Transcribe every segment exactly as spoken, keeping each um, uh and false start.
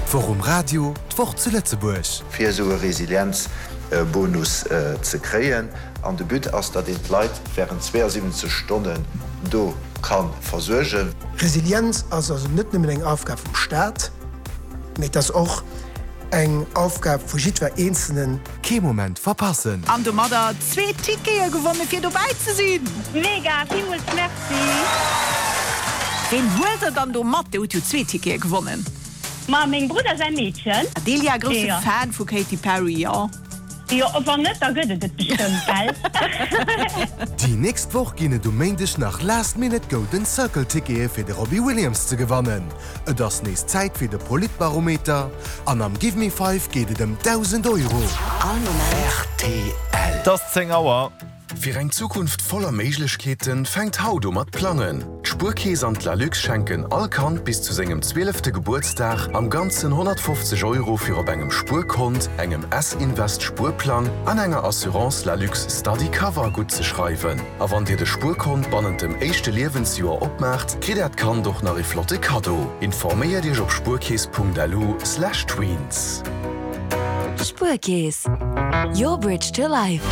D'Woch um Radio, d'Woch zu Lëtzebuerg. Fir esou e Resilienzbonus ze kréien. An de But ass, datt een d'Leit wärend zweeënsiwwenzeg Stonnen do ka versuergen. Resilienz ass also net nëmmen eng Aufgab vum Staat, mee et ass och eng Aufgab vu jiddwer Eenzelnen. Kee Moment verpassen! An domadder zwee Tickete gewonnen fir dobäi ze sinn! Mega, villmools merci! Ween huelt der dann do mat? Dir hutt jo zwee Tickete gewonnen. Ma mengem Brudder säi Meedchen. Adelia, grousse Fan vu Katy Perry, jo? Jo, wann net, da gëtt et et bestëmmt, gell? Déi nächst Woch ginn et um Méindeg nach Last Minute Golden Circle Tickete fir de Robbie Williams ze gewannen. Et ass nees Zäit fir de Politbarometer an am Give Me Five geet et ëm dausend Euro. Rtl. Et ass zéng Auer. Fir eng Zukunft voller Méiglechkeeten, fänkt haut u mat plangen! D'Spuerkeess an d'Lalux schenken all Kand bis zu sengem zwielefte Gebuertsdag am Ganzen honnertfofzeg Euro fir op engem Spuerkont, engem S-Invest Spuerplang an enger Assurance Lalux Study Cover guttzeschreiwen. A wann dir de Spuerkont bannent dem éischte Liewensjoer opmaacht, kritt äert Kand och nach ee flotte Kaddo. Informéiert iech op spuerkeess.lu slash tweens. Spuerkeess, your bridge to life.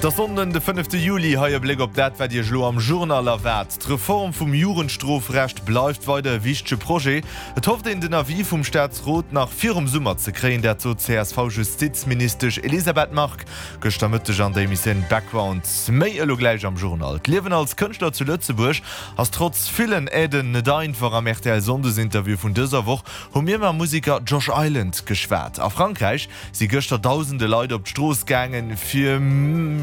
Et ass Sonnden de fënnefte Juli. Hei e Bléck op dat, wat Iech elo am Journal erwaart. D'Reform vum Jugendstrofrecht bleift weider e wichtege Projet. Et hofft een, den Avis vum Staatsrot nach virum Summer ze kréien. Dat sot d'CSV-Justizministesch Elisabeth Margue gëschter Mëtteg an der Emissioun Background. Méi elo gläich am Journal. D'Liewen als Kënschtler zu Lëtzebuerg ass trotz villen Aiden net einfach. Am R T L-Sonndesinterview vun dëser Woch hu mir mam Museker Josh Island geschwat. A Frankräich si gëschter dausende Leit op d'Strooss gaangen, fir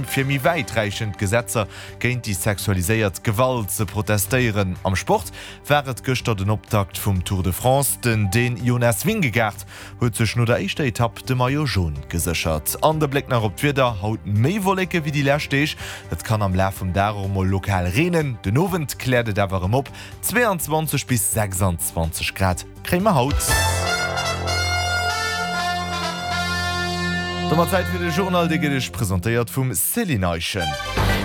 fir méi wäitreechend Gesetzer géint déi sexualiséiert Gewalt ze protestéieren. Am Sport war et gëschter den Optakt vum Tour de France. Den Dän Jonas Vingegaard huet sech no der éischter Etapp de Maillot Jaune geséchert. An de Bléck nach op d'Wieder, Haut méi Wolleke wéi déi lescht Deeg. Et kann am Laf vum Dag och mol lokal reenen. Den Owend kläert et awer erëm op. zwee an zwanzeg bis sechsanzwanzeg Grad kréie mer haut. Domat Zäit fir de Journal, dee gëtt Iech presentéiert vum Céline Eischen.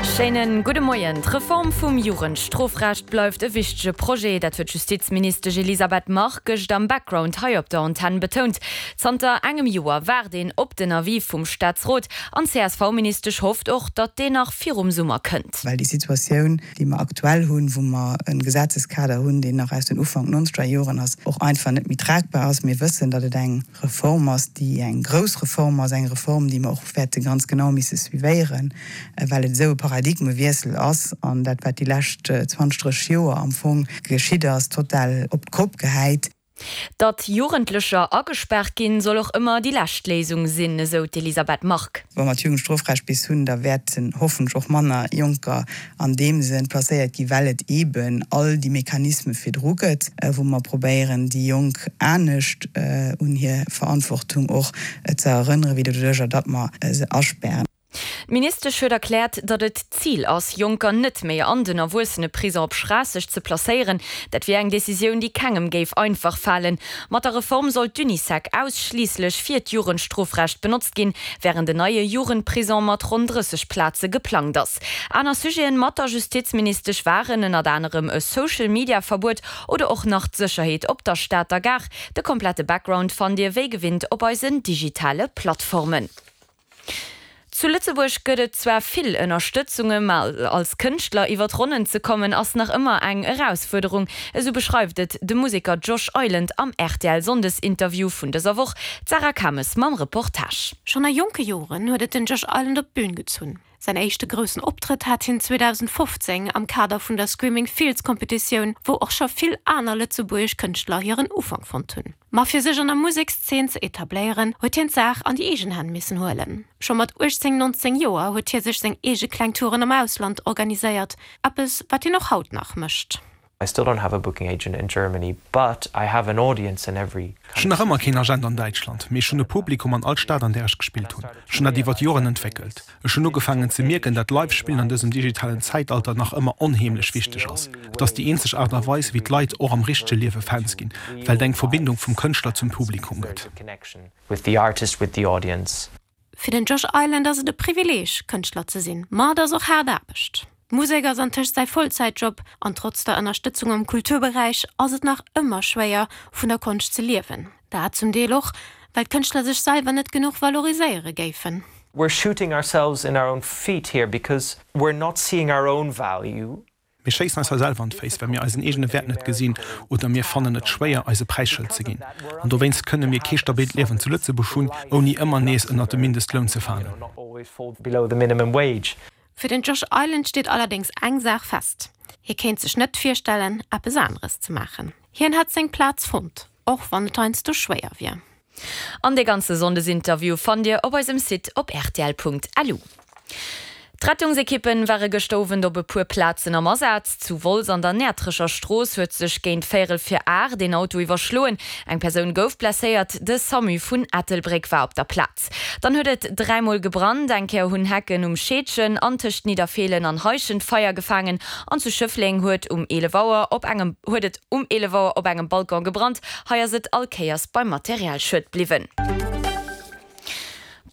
Schéine gudde Moien. D'Reform vum Jugendstrofrecht bleift e wichtege Projet. Dat huet d'Justizministesch Elisabeth Margue gëscht am Background hei op der Antenn betount. Zanter engem Joer waart een op den Avis vum Staatsrot an d'C S V-Ministesch hofft och, datt deen nach virum Summer kënnt. Well déi Situatioun, déi mer aktuell hunn, wou mer e Gesetzeskader hunn, deen nach aus den Ufank nonzeger Joren ass, och einfach net méi tragbar ass. Mir wëssen, datt et eng Reform ass, déi eng grouss Reform ass, eng Reform, déi mer och wäerte ganz genau misse suivéieren, well et esou e Paradigmewiessel ass an dat, wat déi lescht zwanzeg, drësseg Joer am Fong geschitt ass, total op d'Kopp gehäit. Datt Jugendlecher agespaart ginn, soll och ëmmer déi lescht Léisung sinn, esou d'Elisabeth Margue. Wa mer d'Jugendstrofrecht bis hunn, da wäerten hoffentlech och manner Jonker an deem Sënn placéiert ginn, well et eeben all déi Mechanisme virdru gëtt, wou mer probéieren, déi Jonk anescht un hir Verantwortung och ze erënneren, wéi doduerjer, datt mer se aspären. D'Ministesch huet erkläert, datt et d'Zil ass, Jonker net méi an den Erwuesseneprison op Schraasseg ze placéieren. Dat wier eng Decisioun, déi kengem géif einfach falen. Mat der Reform soll d'Unisec ausschliisslech fir d'Jugendstrofrecht benotzt ginn, wärend en neie Jugendprison mat ronn drësseg Plaze geplangt ass. Aner Sujeten mat der Justizministesch waren ënnert anerem e Social-Media-Verbuet oder och nach d'Sécherheet op der Stater Gare. De komplette Background fannt Dir wéi gewinnt op eisen digitale Plattformen. Zu Lëtzebuerg gëtt et zwar vill Ënnerstëtzunge, ma als Kënschtler iwwer d'Ronnen ze kommen ass nach ëmmer eng Erausfuerderung. Esou beschreift et de Museker Josh Island am R T L-Sonndesinterview vun dëser Woch. D'Sarah Kames mam Reportage. Schonn a jonke Joren huet et den Josh Island op d'Bün gezunn. Säin éischte groussen Optrëtt hat hien zweedausendfofzéng am Kader vun der Screaming Fields Kompetitioun, wou och scho vill aner lëtzebuergesch Kënschtler hiren Ufank fonnt hunn. Ma fir sech an der Musekszeen ze etabléieren, huet hien d'Saach an déi eegen Hänn missen huelen. Scho mat uechtzéng, nonzéng Joer huet hie sech seng eege kleng Touren am Ausland organiséiert, eppes wat hien och haut nach mécht. I still don't have a booking agent in Germany, but I have an audience in every Ech hunn nach ëmmer keen Agent an Däitschland, mee ech hunn e Publikum an all Stad, an där ech gespillt hunn. Ech hunn dat iwwer d'Joren entwéckelt. Ech hunn ugefaangen ze mierken, dat Live-Spillen an dësem digitalen Zäitalter nach ëmmer onheemlech wichteg ass. Et ass déi eenzeg Aart a Weis, wéi d'Leit och am richtege Liewe Fans ginn, well et eng Verbindung vum Kënschtler zum Publikum gëtt. With the artist, with the audience. Fir den Josh Island ass et e Privileeg, Kënschtler ze sinn, ma et ass och haart Aarbecht. D'Musek ass antëscht säi Vollzäitjob an trotz der Ënnerstëtzung am Kulturberäich ass et nach ëmmer schwéier, vun der Konscht ze liewen. Dat zum Deel och, well d'Kënschtler sech selwer net genuch valoriséiere géifen. We're shooting ourselves in our own feet here because we're not seeing our own value. Mir schéissen eis hei selwer an d'Féiss, well mir eisen eegene Wäert net gesinn oder mir fannen et schwéier, eis e Präisschëld ze ginn. An dowéinst kënne mir kee stabilt Liewen zu Lëtzebuerg hunn, ouni ëmmer nees ënnert de Mindestloun ze falen. Fir den Josh Island steet allerdéngs eng Saach fest, Hie kéint sech net virstellen, eppes aneres ze maachen. Hien hätt seng Plaz fonnt, och wann et heiansdo schwéier wier. An de ganze Sonndesinterview fannt Dir op eisem Site op rtl.lu. D'Rettungsekippen ware gëschter Owend op e puer Plazen am Asaz. Zu Wolz an der Näertrecher Strooss huet sech géint véierel vir aacht een Auto iwwerschloen. Eng Persoun gouf blesséiert, de Samu vun Ettelbréck war op der Plaz. Dann huet et dräi Mol gebrannt, eng Kéier hunn Hecken um Scheedgen an tëscht Nidderfeelen an Heischent Feier gefaangen an zu Schëffleng huet um eelef Auer op engem huet et um eelef Auer op engem Balcon gebrannt. Hei ass et all Kéiers beim Materialschued bliwwen.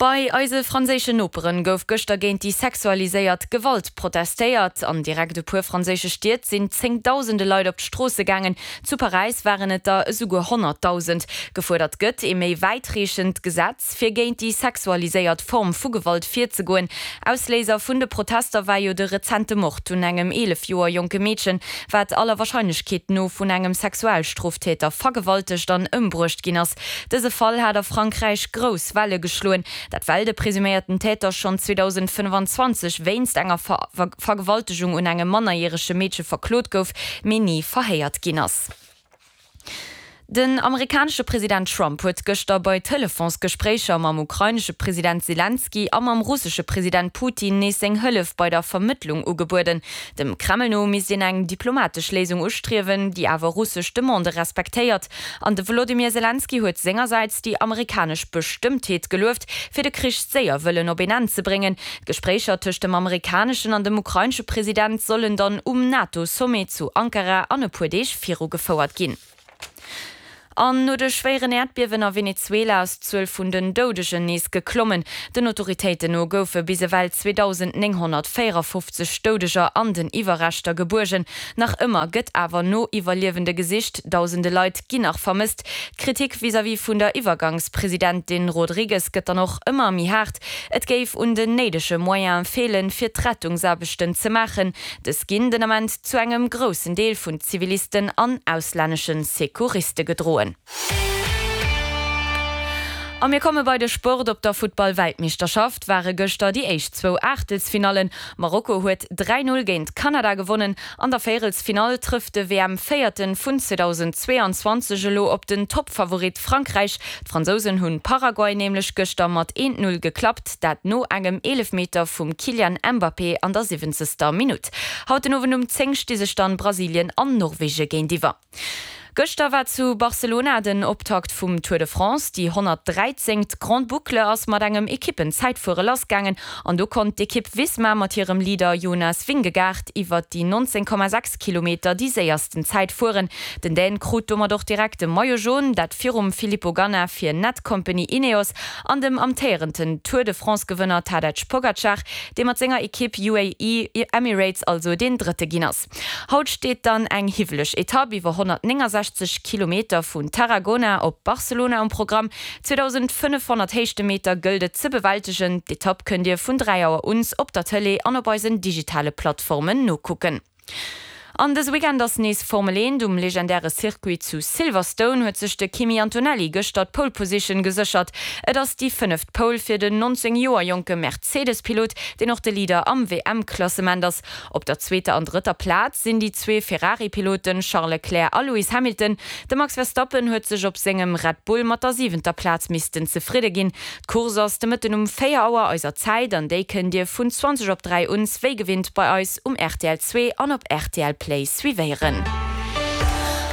Bei eise franséischen Noperen gouf gëschter géint déi sexualiséiert Gewalt protestéiert. An direkt e puer franséische Stied sinn zéngdausende Leit op d'Stroosse gaangen. Zu Paräis waren et der esouguer honnertdausend. Gefuerdert gëtt ee méi wäitreechend Gesetz, fir géint déi sexualiséiert Form vu Gewalt virzegoen. Ausléiser vun de Protester war jo de rezente Mord un engem eelef Joer jonke Meedchen, wat aller Warscheinlechkeet no vun engem Sexualstroftäter vergewaltegt an ëmbruecht ginn ass. Dëse Fall hat a Frankräich grouss Welle geschloen. Dat well de presuméierten Täter schonn zweedausendfënnfanzwanzeg wéinst enger Vergewaltegung un engem mannerjärege Meedche verklot gouf, mee ni verhéiert ginn ass. Den amerikanesche President Trump huet gëschter bei Telefonsgespréicher mam ukrainesche President Selenskyj a mam russesche President Putin nees seng Hëllef bei der Vermëttlung ugebueden. Dem Kreml no misst een eng diplomatesch Léisung ustriewen, déi awer russesch Demandë respektéiert. An de Wolodymyr Selenskyj huet sengersäits déi amerikanesch Bestëmmtheet gelueft, fir de Krich séier wëllen op een Enn ze bréngen. D'Gespréicher tëscht dem amerikaneschen an dem ukrainesche President sollen dann um NATO-Sommet zu Ankara an e puer Deeg virugefouert ginn. An no de schwéieren Äerdbiewen a Venezuela ass d'Zuel vun den Doudegen nees geklommen. Den Autoritéiten no goufe bis ewell zweedausendnénghonnertvéierafofzeg Doudeger an den Iwwerreschter gebuergen. Nach ëmmer gëtt awer no Iwwerliewende gesicht, dausende Leit ginn nach vermësst. D'Kritik vis-à-vis vun der Iwwergangspresidentin Rodriguez gëtt dann och ëmmer méi haart. Et géif un den néidege Moyene feelen, fir d'Rettungsaarbechten ze maachen. Dës ginn den Ament zu engem groussen Deel vun Zivilisten an auslännesche Secouriste gedroen. A mir komme bei de Sport, Op der Futtball-Weltmeeschterschaft ware gëschter déi éischt zwou Aachtelsfinallen. Marokko huet dräi Null géint Kanada gewonnen. An der Véierelsfinall trëfft de W M-Véierten vun zweedausendzweeanzwanzeg elo op den Toppfavorit Frankräich. D'Fransousen hunn Paraguay nämlech gëschter mat eent Null geklappt, dat no engem Eelefmeter vum Kylian Mbappé an der siwwenzegster Minutt. Haut den Owend um zéng sti sech dann Brasilien an Norwege géintiwwer. Gëschter war zu Barcelona den Optakt vum Tour de France. Déi honnertdräizéngt Grande Boucle ass mat engem Ekippenzäitfuere lassgaangen an do konnt d'Ekipp Visma mat hirem Leader Jonas Vingegaard iwwert déi nonzéng Komma sechs Kilometer déi séiersten Zäit fueren. Den Dän krut domat och direkt de Maillot Jaune, dat virum Filippo Ganna fir Netcompany Ineos an dem amtéierenden Tour de France-Gewënner Tadej Pogacar, dee mat senger Ekipp U A E Emirates also deen Drëtte ginn ass. Haut steet dann eng hiwweleg Etapp iwwer honnertnéngasechzeg Kilometer vun Tarragona op Barcelona um Programm. zweedausendfënnefhonnert Héichtemeter gëllt et ze bewältegen. D'Etapp kënnt Dir vun dräi Auer uns op der Tëlee an op eisen digitale Plattformen nokucken. An dëse Weekend ass nees Formel eent. Um legendäre Circuit zu Silverstone huet sech de Kimi Antonelli gëschter d'Pole Position geséchert. Et ass déi fënneft Pole fir den nonzéng Joer jonke Mercedes-Pilot, deen och de Leader am W M-Klassement ass. Op der zweeter an drëtter Plaz sinn déi zwee Ferrari-Piloten Charles Leclerc a Lewis Hamilton. De Max Verstappen huet sech op sengem Red Bull mat der siwenter Plaz missten zefridde ginn. D'Course ass de Mëtten um véier Auer eiser Zäit an déi kënnt Dir vun zwanzeg op dräi un wéi gewinnt bei eis um R T L zwee an op R T L Play suivéieren.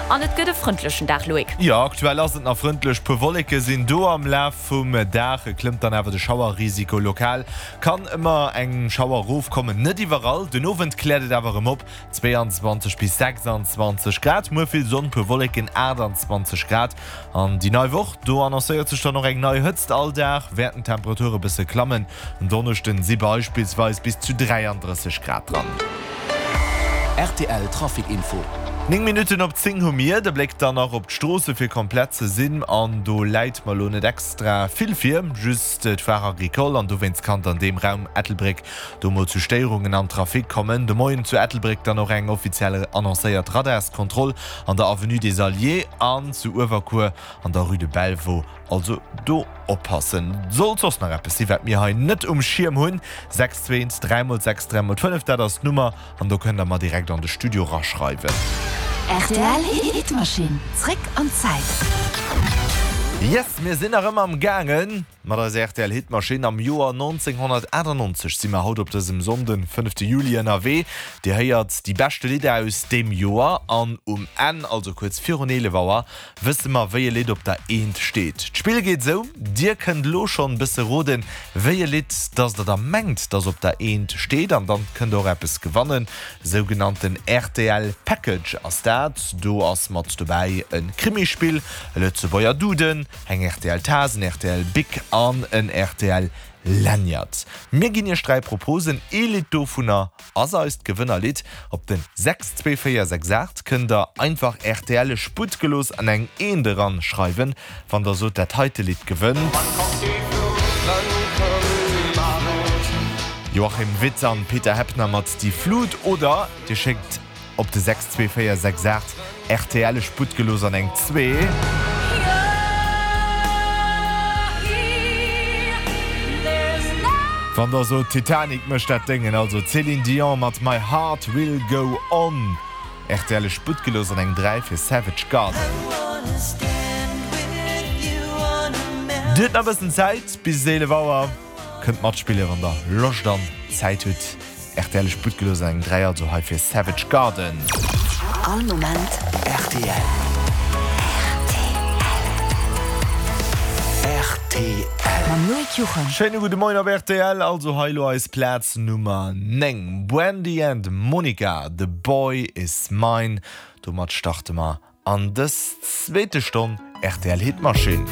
An et gëtt e frëndlechen Dag, Loïc. Jo, aktuell ass et nach frëndlech, puer Wolleke sinn do. Am Laf vum Dag klëmmt dann awer de Schauerrisiko. Lokal kann ëmmer eng Schauer erofkommen, net iwwerall. Den Owend kläert et awer erëm op, zwéianzwanzeg bis sechsanzwanzeg Grad. Muer vill Sonn, puer Wolleken, aachtanzwanzeg Grad. An déi nei Woch, do annoncéiert sech dann och eng nei Hëtzt. All Dag wäerten d'Temperature bësse klammen, en Donneschden si beispillsweis bis zu dräiandrësseg Grad dran. Rtl Trafic Info. Néng Minutten op zéng hu mir de Bléck dann nach op d'Stroosse fir komplett ze sinn an do läit mer lo net extra vill vir, just d'Foire Agricole an dowéinst kann et an deem Raum Ettelbréck do mol zu Stéierungen am Trafic kommen. De Moien zu Ettelbréck dann och eng offiziell annoncéiert Radarskontroll an der Avenue des Alliés an zu Uewerkuer an der Rue de Belvaux. Also do oppassen. Sollt soss nach eppes si wat mir hei net um Schierm hunn, sechs zwee eent dräi mol sechs dräi mol fënnef, dat ass d'Nummer an do kënnt der mer direkt an de Studio raschreiwen. Rtl Hitmaschinn, zréck an d'Zäit. Yes, mir sinn nach ëmmer am gaangen mat eiser rtl Hitmaschinn. Am Joer nonzénghonnertachtannonzeg si mer haut op dësem Sonnden, fënnefte Juli ënnerwee. Dir héiert déi beschte Lidder aus deem Joer an um Enn, also kuerz virun eelef Auer, wësse mer wéi e Lidd op der Eent steet. D'Spill geet esou, Dir kënnt elo schonn bësse roden, wéi e Lidd dass der da mengt dass op der Eent steet an dann kënnt der och eppes gewannen. Sougenannten rtl Package ass dat. Do ass mat dobäi e Krimispill, e Lëtzebuerger Duden, eng rtl Taass, en rtl Bic an en rtl Lanyard. Mir ginn iech dräi Proposen, ee Lidd dovunner ass eist Gewënnerlidd. Op den sechs zwee véier sechs aacht kënnt der einfach rtl Sputt gelooss an eng Eent eran schreiwen, wann der sot dat heite Lidd gewënnt. Joachim Witt an Peter Heppner mat Die Flut oder dir schéckt op de sechs zwee véier sechs aacht rtl Sputt gelooss an eng zwee. Wann der sot Titanic mécht dat Déngen, also Céline Dion mat My Heart Will Go On. Rtl Sputt gelooss an eng dräi fir Savage Garden. Dir hutt nach bëssen Zäit bis eelef Auer. Kënnt matspillen wann der Loscht an Zäit hutt. Rtl Sputt gelooss an eng dräi also hei fir Savage Garden. All Moment rtl. Rtl. Mam Loïc Juchem. Schéine gudde Moien op rtl. Also hei elo eis Plaz Nummer néng, Brandy and Monica, The Boy Is Mine. Domat starte mer an dës zweete Stonn rtl Hitmaschinn.